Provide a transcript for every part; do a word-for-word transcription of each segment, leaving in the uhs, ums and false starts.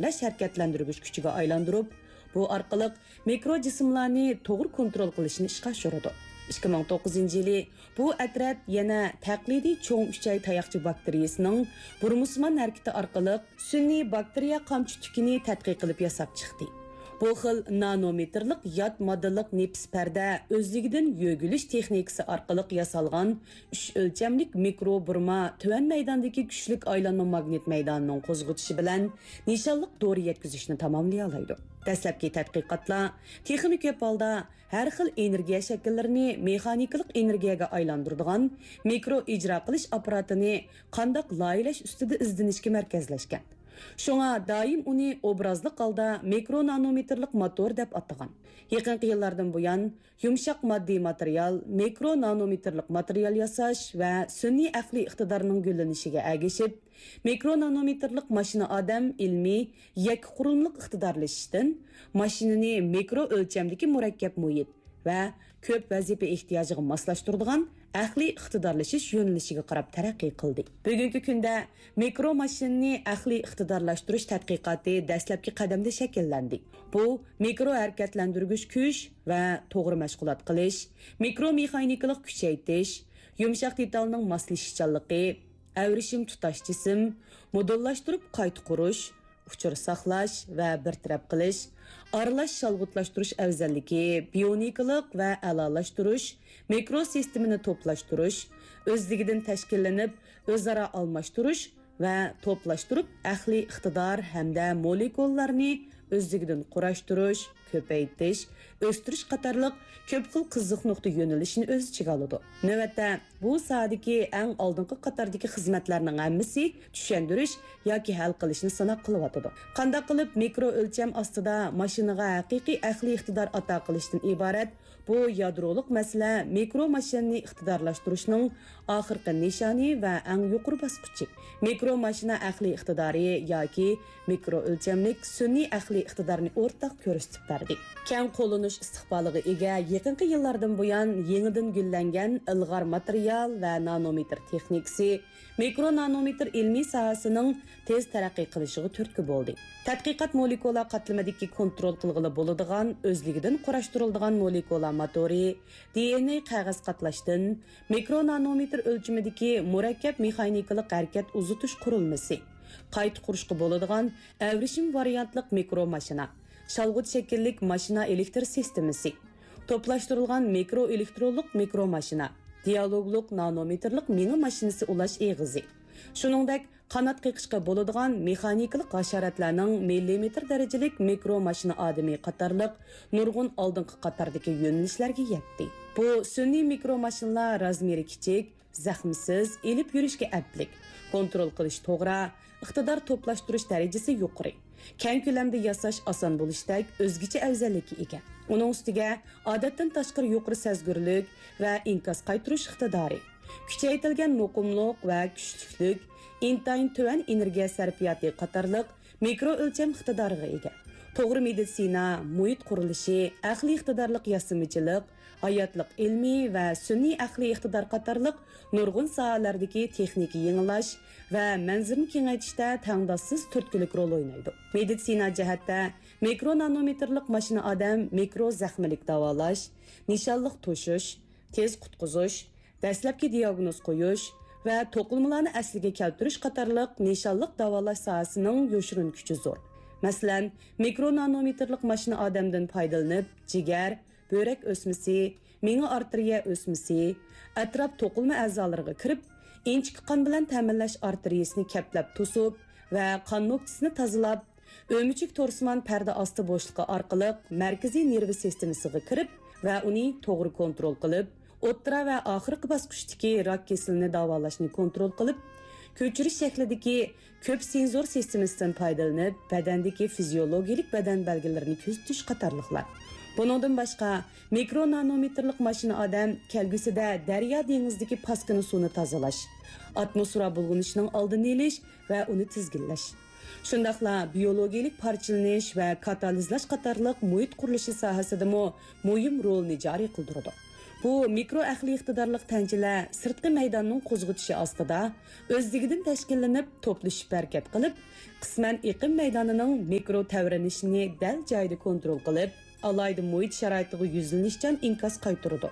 ئىلگىرىلەش ھەرىكەتلەندۈرگۈچ كۈچىگە ئايلاندۇرۇپ، بۇ ئارقىلىق مىكرو جىسىملارنى توغرا كونترول قىلىشنى ئىشقا ئاشۇرىدۇ. ئىككى مىڭ توققۇزىنچى يىلى بۇ ئەترەت يەنە تەقلىدىي چوڭ ئۈچەي تاياقچە باكتېرىيىسىنىڭ بۇرمىسىمان ھەرىكىتى ئارقىلىق سۈنئىي باكتېرىيە قامچا تۈكىنى تەتقىق قىلىپ ياساپ چىقتى. بۇ خىل نانومېتىرلىق يات ماددىلىق نېپىز پەردە ئۆزلۈكىدىن يۆگىلىش تېخنىكىسى ئارقىلىق ياسالغان ئۈچ ئۆلچەملىك مىكرو بۇرما تۆۋەن مەيداندىكى كۈچلۈك ئايلانما ماگنىت مەيدانىنىڭ قوزغىتىشى بىلەن نىشانلىق دورا يەتكۈزۈشنى تاماملىيالايدۇ. دەسلەپكى تەتقىقاتلار تېخىمۇ كۆپ ھالدا ھەر خىل ئېنېرگىيە شەكىللىرىنى مېخانىكىلىق ئېنېرگىيەگە ئايلاندۇرىدىغان مىكرو ئىجرا قىلىش ئاپپاراتىنى قانداق لايىھەلەش ئۈستىدە ئىزدىنىشكە مەركەزلەشكەن. شۇڭا دائىم ئۇنى ئوبرازلىق ھالدا مىكرو نانومېتىرلىق موتور دەپ ئاتىغان. يېقىنقى يىللاردىن بۇيان، يۇمشاق ماددىي ماتېرىيال، مىكرو نانومېتىرلىق ماتېرىيال ياساش ۋە سۈنئىي ئەقلىي ئىقتىدارنىڭ گۈللىنىشىگە ئەگىشىپ، مىكرو نانومېتىرلىق ماشىنا ئادەم ئىلمىي يەككە قۇرۇلمىلىق ئىقتىدارلىشىشتىن ماشىنىنى مىكرو ئۆلچەمدىكى مۇرەككەپ مۇھىت ۋە كۆپ ۋەزىپە ئېھتىياجىغا ماسلاشتۇرىدىغان ئەقلىي ئىقتىدارلىشىش يۆنىلىشىگە قاراپ تەرەققىي قىلدى. بۈگۈنكى كۈندە مىكرو ماشىنىنى ئەقلىي ئىقتىدارلاشتۇرۇش تەتقىقاتى دەسلەپكى قەدەمدە شەكىللەندى. بۇ مىكرو ھەرىكەتلەندۈرگۈچ كۈچ ۋە توغرا مەشغۇلات قىلىش، مىكرو مېخانىكىلىق كۈچەيتىش، يۇمشاق دېتالنىڭ ماسلىشىشچانلىقى، ئەۋرىشىم تۇتاش جىسىم، مودېللاشتۇرۇپ قايتا قۇرۇش، ئۇچۇر ساقلاش ۋە بىر تەرەپ قىلىش، ئارىلاش شالغۇتلاشتۇرۇش ئەۋزەللىكى، بىيونىكىلىق ۋە ئەلالاشتۇرۇش، مىكرو سىستېمىنى توپلاشتۇرۇش، ئۆزلۈكىدىن تەشكىللىنىپ، ئۆزئارا ئالماشتۇرۇش ۋە توپلاشتۇرۇپ، ئەقلىي ئىقتىدار ھەمدە مولېكۇللارنى ئۆزلۈكىدىن قۇراشتۇرۇش، كۆپەيتىش، ئۆستۈرۈش قاتارلىق كۆپ خىل قىزىق نۇقتا يۆنىلىشىنى ئۆز ئىچىگە ئالىدۇ. نۆۋەتتە، بۇ ساھەدىكى ئەڭ ئالدىنقى قاتاردىكى خىزمەتلەرنىڭ ھەممىسى چۈشەندۈرۈش ياكى ھەل قىلىشنى سىناق قىلىۋاتىدۇ. قانداق قىلىپ مىكرو ئۆلچەم ئاستىدا ماشىنىغا ھەقىقىي ئەقلىي ئىقتىدار ئاتا قىلىشتىن ئىبارەت بۇ يادرولۇق مەسىلە مىكرو ماشىنىنى ئىقتىدارلاشتۇرۇشنىڭ ئاخىرقى نىشانى ۋە ئەڭ يۇقىرى باسقۇچى. مىكرو ماشىنا ئەقلىي ئىقتىدارى ياكى مىكرو ئۆلچەملىك سۈنئىي ئەقلىي ئىقتىدارنى ئورتاق كۆرسىتىپ بەردى. كەڭ قوللىنىش ئىستىقبالىغا ئىگە يېقىنقى يىللاردىن بۇيان يېڭىدىن گۈللەنگەن ئىلغار ماتېرىيال ۋە نانومېتىر تېخنىكىسى، مىكرو نانومېتىر ئىلمىي ساھەسىنىڭ تېز تەرەققىي قىلىشىغا تۈرتكە بولدى. تەتقىقات مولېكۇلا قاتلىمىدىكى كونترول قىلغىلى بولىدىغان ئۆزلۈكىدىن قۇراشتۇرۇلىدىغان مولېكۇلا موتورى، دى ئېن ئېي قەغەز قاتلاشتىن، مىكرو نانومېتىر ئۆلچىمىدىكى مۇرەككەپ مېخانىكىلىق ھەرىكەت ئۇزىتىش قۇرۇلمىسى، قايتا قۇرۇشقا بولىدىغان ئەۋرىشىم ۋارىيانتلىق مىكرو ماشىنا، شالغۇت شەكىللىك ماشىنا ئېلېكتر سىستېمىسى، توپلاشتۇرۇلغان مىكرو ئېلېكترونلۇق مىكرو ماشىنا، دىئالوگلۇق نانومېتىرلىق مېڭە ماشىنىسى ئۇلاش ئېغىزى، شۇنىڭدەك قانات قېقىشقا بولىدىغان مېخانىكىلىق ھاشاراتلارنىڭ مىللىمېتىر دەرىجىلىك مىكرو ماشىنا ئادىمى قاتارلىق نۇرغۇن ئالدىنقى قاتاردىكى يۆنىلىشلەرگە يەتتى. بۇ سۈنئىي مىكرو ماشىنىلار رازمېرى كىچىك، زەخمىسىز، ئېلىپ يۈرۈشكە ئەپلىك، كونترول قىلىش توغرا، ئىقتىدار توپلاشتۇرۇش دەرىجىسى يۇقىرى، كەڭ كۆلەمدە ياساش ئاسان بولۇشتەك ئۆزگىچە ئەۋزەللىككە ئىگە. ئۇنىڭ ئۈستىگە ئادەتتىن تاشقىرى يۇقىرى سەزگۈرلۈك ۋە ئىنكاس قايتۇرۇش ئىقتىدارى، كۈچەيتىلگەن مۇقىملىق ۋە كۈچلۈكلۈك، ئىنتايىن تۆۋەن ئېنېرگىيە سەرپىياتى قاتارلىق مىكرو ئۆلچەم ئىقتىدارىغا ئىگە. توغرا مېدىتسىنا، مۇھىت قۇرۇلۇشى، ئەقلىي ئىقتىدارلىق ياسىمىچىلىق، ھاياتلىق ئىلمى ۋە سۈنئىي ئەقلىي ئىقتىدار قاتارلىق نۇرغۇن ساھەلەردىكى تېخنىكا يېڭىلاش ۋە مەنزىرىنى كېڭەيتىشتە تەڭداشسىز تۈرتكىلىك رول ئوينايدۇ. مېدىتسىنا جەھەتتە مىكرو نانومېتىرلىق ماشىنا ئادەم مىكرو زەخمىلىك داۋالاش، نىشانلىق توشۇش، تېز قۇتقۇزۇش، دەسلەپكى دىياگنوز قويۇش ۋە توقۇلمىلارنى ئەسلىگە كەلتۈرۈش قاتارلىق نىشانلىق داۋالاش ساھەسىنىڭ يوشۇرۇن كۈچى زور. مەسىلەن، مىكرو نانومېتىرلىق ماشىنا ئادەمدىن پايدىلىنىپ، جىگەر، بۆرەك ئۆسمىسى، مېڭە ئارتېرىيە ئۆسمىسى، ئەتراپ توقۇلما ئەزالىرىغا كىرىپ، ئىنچىكە قان بىلەن تەمىنلەش ئارتېرىيىسىنى كەپلەپ توسۇپ ۋە قان نۆكچىسىنى تازىلاپ، ئۆمۈچۈك تورسىمان پەردە ئاستى بوشلۇقى ئارقىلىق مەركىزىي نېرۋا سىستېمىسىغا كىرىپ ۋە ئۇنى توغرا كونترول قىلىپ، ئوتتۇرا ۋە ئاخىرقى باسقۇچتىكى راك كېسىلىنى داۋالاشنى كونترول قىلىپ، كۆچۈرۈش شەكلىدىكى كۆپ سېنزور سىستېمىسىدىن پايدىلىنىپ، بەدەندىكى فىزىيولوگىيەلىك بەدەن بەلگىلىرىنى كۆزىتىش قاتارلىقلار. بۇنىڭدىن باشقا، مىكرو نانومېتىرلىق ماشىنا ئادەم كەلگۈسىدە دەريا دېڭىزدىكى پاسكىنا سۇنى تازىلاش، ئاتموسفېرا بۇلغىنىشىنىڭ ئالدىنى ئېلىش ۋە ئۇنى تىزگىنلەش، شۇنداقلا بىيولوگىيەلىك پارچىلىنىش ۋە كاتالىزلاش قاتارلىق مۇھىت قۇرۇلۇشى ساھەسىدىمۇ مۇھىم رولنى جارى قىلدۇرىدۇ. بۇ مىكرو ئەقلىي ئىقتىدارلىق تەنچىلەر سىرتقى مەيداننىڭ قوزغىتىشى ئاستىدا ئۆزلۈكىدىن تەشكىللىنىپ، توپلىشىپ ھەرىكەت قىلىپ، قىسمەن ئېقىم مەيدانىنىڭ مىكرو تەۋرىنىشىنى دەل جايىدا كونترول قىلىپ، ئالاھىدە مۇھىت شارائىتىغا يۈزلىنىشچان ئىنكاس قايتۇرىدۇ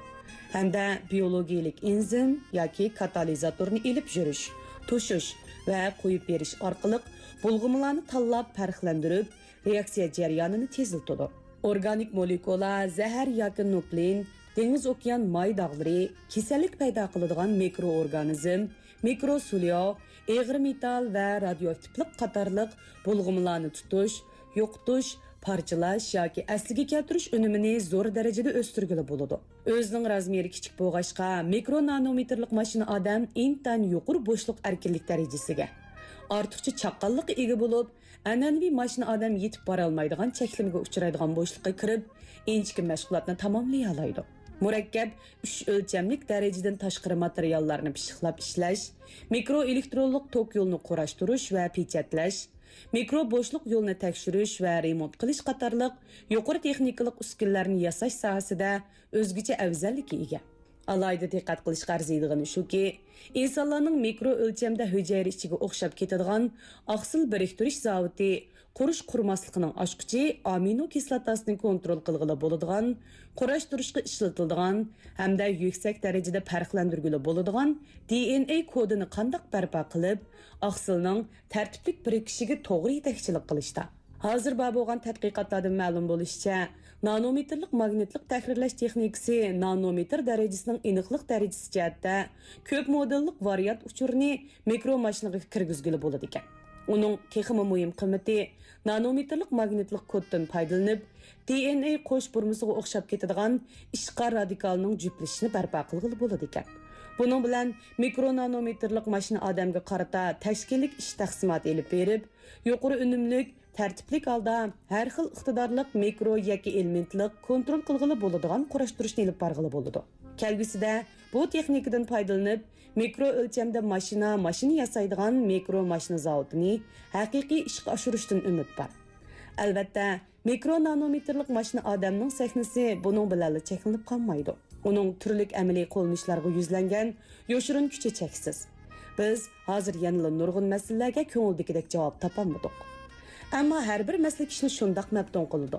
ھەمدە بىيولوگىيىلىك ئېنزىم ياكى كاتالىزاتورنى ئېلىپ يۈرۈش، توشۇش ۋە قويۇپ بېرىش ئارقىلىق بۇلغىمىلارنى تاللاپ پەرقلەندۈرۈپ، رېئاكسىيە جەريانىنى تېزلىتىدۇ. ئورگانىك مولېكۇلا، زەھەر ياكى نۇكلېئىن، دېڭىز ئوكيان ماي داغلىرى، كېسەللىك پەيدا قىلىدىغان مىكرو ئورگانىزم، مىكرو سۇلياۋ، ئېغىر مېتال ۋە رادىيوئاكتىپلىق قاتارلىق بۇلغىمىلارنى تۇتۇش، يوقىتىش، پارچىلاش ياكى ئەسلىگە كەلتۈرۈش ئۈنۈمىنى زور دەرىجىدە ئۆستۈرگىلى بولىدۇ. ئۆزىنىڭ رازمېرى كىچىك بولغاچقا، مىكرو نانومېتىرلىق ماشىنا ئادەم ئىنتايىن يۇقىرى بوشلۇق ئەركىنلىك دەرىجىسىگە، ئارتۇقچە چاققانلىققا ئىگە بولۇپ، ئەنئەنىۋى ماشىنا ئادەم يېتىپ بارالمايدىغان چەكلىمىگە ئۇچرايدىغان بوشلۇققا كىرىپ، ئىنچىكە مەشغۇلاتنى تاماملىيالايدۇ. مۇرەككەپ ئۈچ ئۆلچەملىك دەرىجىدىن تاشقىرى ماتېرىياللارنى پىششىقلاپ ئىشلەش، مىكرو ئېلېكترونلۇق توك يولىنى قۇراشتۇرۇش ۋە پېچەتلەش، مىكرو بوشلۇق يولىنى تەكشۈرۈش ۋە رېمونت قىلىش قاتارلىق يۇقىرى تېخنىكىلىق ئۈسكۈنىلەرنى ياساش ساھەسىدە ئۆزگىچە ئەۋزەللىككە ئىگە. ئالاھىدە دىققەت قىلىشقا ئەرزىيدىغىنى شۇكى، ئىنسانلارنىڭ مىكرو ئۆلچەمدە ھۈجەيرە ئىچىگە ئوخشاپ كېتىدىغان ئاقسىل بىرىكتۈرۈش زاۋۇتى قۇرۇش قۇرماسلىقىنىڭ ئاچقۇچى ئامىنو كىسلاتاسىنى كونترول قىلغىلى بولىدىغان، قۇراشتۇرۇشقا ئىشلىتىلىدىغان ھەمدە يۈكسەك دەرىجىدە پەرقلەندۈرگىلى بولىدىغان دى ئېن ئەي كودىنى قانداق بەرپا قىلىپ، ئاقسىلنىڭ تەرتىپلىك بىرىكىشىگە توغرا يېتەكچىلىك قىلىشتا. ھازىر بار بولغان تەتقىقاتلاردىن مەلۇم بولۇشىچە، نانومېتىرلىق ماگنىتلىق تەھرىرلەش تېخنىكىسى نانومېتىر دەرىجىسىنىڭ ئېنىقلىق دەرىجىسى جەھەتتە كۆپ مودېللىق ۋارىيانت ئۇچۇرىنى مىكرو ماشىنىغا كىرگۈزگىلى بولىدىكەن. ئۇنىڭ تېخىمۇ مۇھىم قىممىتى نانومېتىرلىق ماگنىتلىق كودتىن پايدىلىنىپ، دى ئېن ئەي قوش بۇرمىسىغا ئوخشاپ كېتىدىغان ئىشقار رادىكالىنىڭ جۈپلىشىشىنى بەرپا قىلغىلى بولىدىكەن. بۇنىڭ بىلەن مىكرو نانومېتىرلىق ماشىنا ئادەمگە قارىتا تەشكىللىك ئىش تەقسىماتى ئېلىپ بېرىپ، يۇقىرى ئۈنۈملۈك، تەرتىپلىك ھالدا ھەر خىل ئىقتىدارلىق مىكرو يەككە ئېلېمېنتلىق كونترول قىلغىلى بولىدىغان قۇراشتۇرۇشنى ئېلىپ بارغىلى بولىدۇ. كەلگۈسىدە بۇ تېخنىكىدىن پايدىلىنىپ، مىكرو ئۆلچەمدە ماشىنا، ماشىنا ياسايدىغان مىكرو ماشىنا زاۋۇتىنى ھەقىقىي ئىشقا ئاشۇرۇشتىن ئۈمىد بار. ئەلۋەتتە، مىكرو نانومېتىرلىق ماشىنا ئادەمنىڭ سەھنىسى بۇنىڭ بىلەنلا چەكلىنىپ قالمايدۇ. ئۇنىڭ تۈرلۈك ئەمەلىي قوللىنىشلارغا يۈزلەنگەن يوشۇرۇن كۈچى چەكسىز. بىز ھازىر يەنىلا نۇرغۇن مەسىلىلەرگە كۆڭۈلدىكىدەك جاۋاب تاپالمىدۇق. ئەمما ھەر بىر مەسىلە كىشىنى شۇنداق مەپتۇن قىلىدۇ.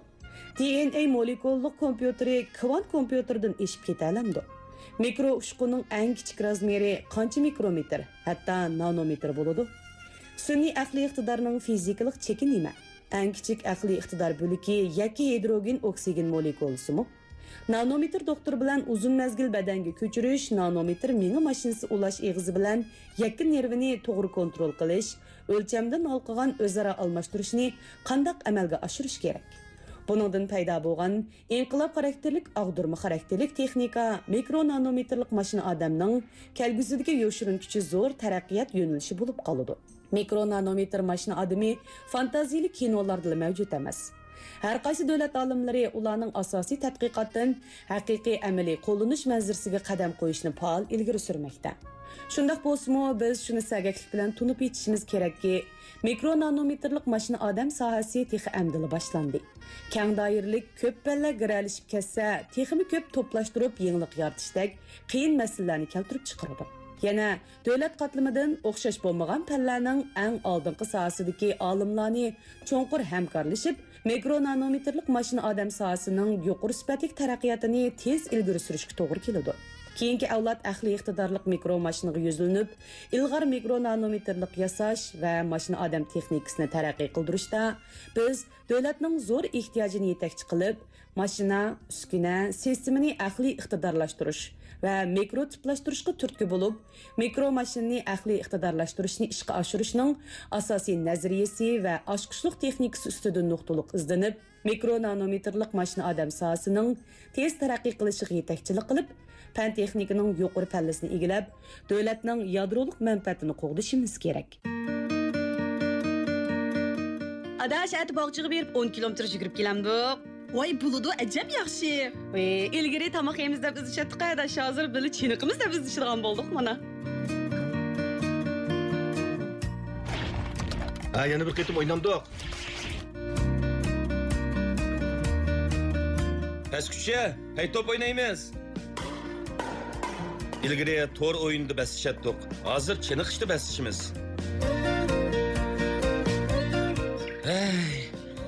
دى ئېن ئەي مولېكۇللۇق كومپيۇتېرى كۋانت كومپيۇتېردىن ئېشىپ كېتەلەمدۇ؟ مىكرو ئۇچقۇننىڭ ئەڭ كىچىك رازمېرى قانچە مىكرومېتىر، ھەتتا نانومېتىر بولىدۇ؟ سۈنئىي ئەقلىي ئىقتىدارنىڭ فىزىكىلىق چېكى نېمە؟ ئەڭ كىچىك ئەقلىي ئىقتىدار بۆلىكى يەككە ھىدروگېن ئوكسىگېن مولېكۇلىسىمۇ؟ نانومېتىر دوختۇر بىلەن ئۇزۇن مەزگىل بەدەنگە كۆچۈرۈش، نانومېتىر مېڭە ماشىنىسى ئۇلاش ئېغىزى بىلەن يەككە نېرۋىنى توغرا كونترول قىلىش، ئۆلچەمدىن ھالقىغان ئۆزئارا ئالماشتۇرۇشنى قانداق ئەمەلگە ئاشۇرۇش كېرەك؟ بۇنىڭدىن پەيدا بولغان ئىنقىلاب خاراكتېرلىك، ئاغدۇرما خاراكتېرلىك تېخنىكا، مىكرو نانومېتىرلىق ماشىنا ئادەمنىڭ كەلگۈسىدىكى يوشۇرۇن كۈچى زور تەرەققىيات يۆنىلىشى بولۇپ قالىدۇ. مىكرو نانومېتىر ماشىنا ئادىمى فانتازىيىلىك كىنولاردىلا مەۋجۇت ئەمەس. ھەر قايسى دۆلەت ئالىملىرى ئۇلارنىڭ ئاساسىي تەتقىقاتتىن ھەقىقىي ئەمەلىي قوللىنىش مەنزىرىسىگە قەدەم قويۇشنى پائال ئىلگىرى سۈرمەكتە. شۇنداق بولسىمۇ، بىز شۇنى سەگەكلىك بىلەن تونۇپ يېتىشىمىز كېرەككى، مىكرو نانومېتىرلىق ماشىنا ئادەم ساھەسى تېخى ئەمدىلا باشلاندى. كەڭ دائىرىلىك، كۆپ پەنلەر گىرەلىشىپ كەتسە، تېخىمۇ كۆپ توپلاشتۇرۇپ يېڭىلىق يارىتىشتەك قىيىن مەسىلىلەرنى كەلتۈرۈپ چىقىرىدۇ. يەنە دۆلەت قاتلىمىدىن ئوخشاش بولمىغان پەنلەرنىڭ ئەڭ ئالدىنقى ساھەسىدىكى ئالىملارنى چوڭقۇر ھەمكارلىشىپ، مىكرو نانومېتىرلىق ماشىنا ئادەم ساھەسىنىڭ يۇقىرى سۈپەتلىك تەرەققىياتىنى تېز ئىلگىرى سۈرۈشكە توغرا كېلىدۇ. كېيىنكى ئەۋلاد ئەقلىي ئىقتىدارلىق مىكرو ماشىنىغا يۈزلىنىپ، ئىلغار مىكرو نانومېتىرلىق ياساش ۋە ماشىنا ئادەم تېخنىكىسىنى تەرەققىي قىلدۇرۇشتا بىز دۆلەتنىڭ زور ئېھتىياجىنى يېتەكچى قىلىپ، ماشىنا، ئۈسكۈنە، سىستېمىنى ئەقلىي ئىقتىدارلاشتۇرۇش ۋە مىكرو تىپلاشتۇرۇشقا تۈرتكە بولۇپ، مىكرو ماشىنىنى ئەقلىي ئىقتىدارلاشتۇرۇشنى ئىشقا ئاشۇرۇشنىڭ ئاساسىي نەزەرىيەسى ۋە ئاچقۇچلۇق تېخنىكىسى ئۈستىدىن نۇقتىلىق ئىزدىنىپ، مىكرو نانومېتىرلىق ماشىنا ئادەم ساھەسىنىڭ تېز تەرەققىي قىلىشىغا يېتەكچىلىك قىلىپ، پەن تېخنىكىنىڭ يۇقىرى پەللىسىنى ئىگىلەپ، دۆلەتنىڭ يادرولۇق مەنپەئەتىنى قوغدىشىمىز كېرەك. ئاداش، ئەتە باغچىغا بېرىپ ئون كىلومېتىر يۈگۈرۈپ كېلەمدۇق؟ ۋاي، بولىدۇ، ئەجەب ياخشى. ئى، ئىلگىرى تاماق يەيمىز دەپ ئىزدىشەتتۇق ئاداش، ھازىر بىللە چېنىقىمىز دەپ ئىزدىشىدىغان بولدۇق مانا. ھە، يەنە بىر قېتىم ئوينامدۇق؟ پەسكۈچە، ھەي، توپ ئوينايمىز. ئىلگىرى تور ئويۇنىدا بەسلىشەتتۇق. ھازىر چېنىقىشتا بەسلىشىمىز. ھەي،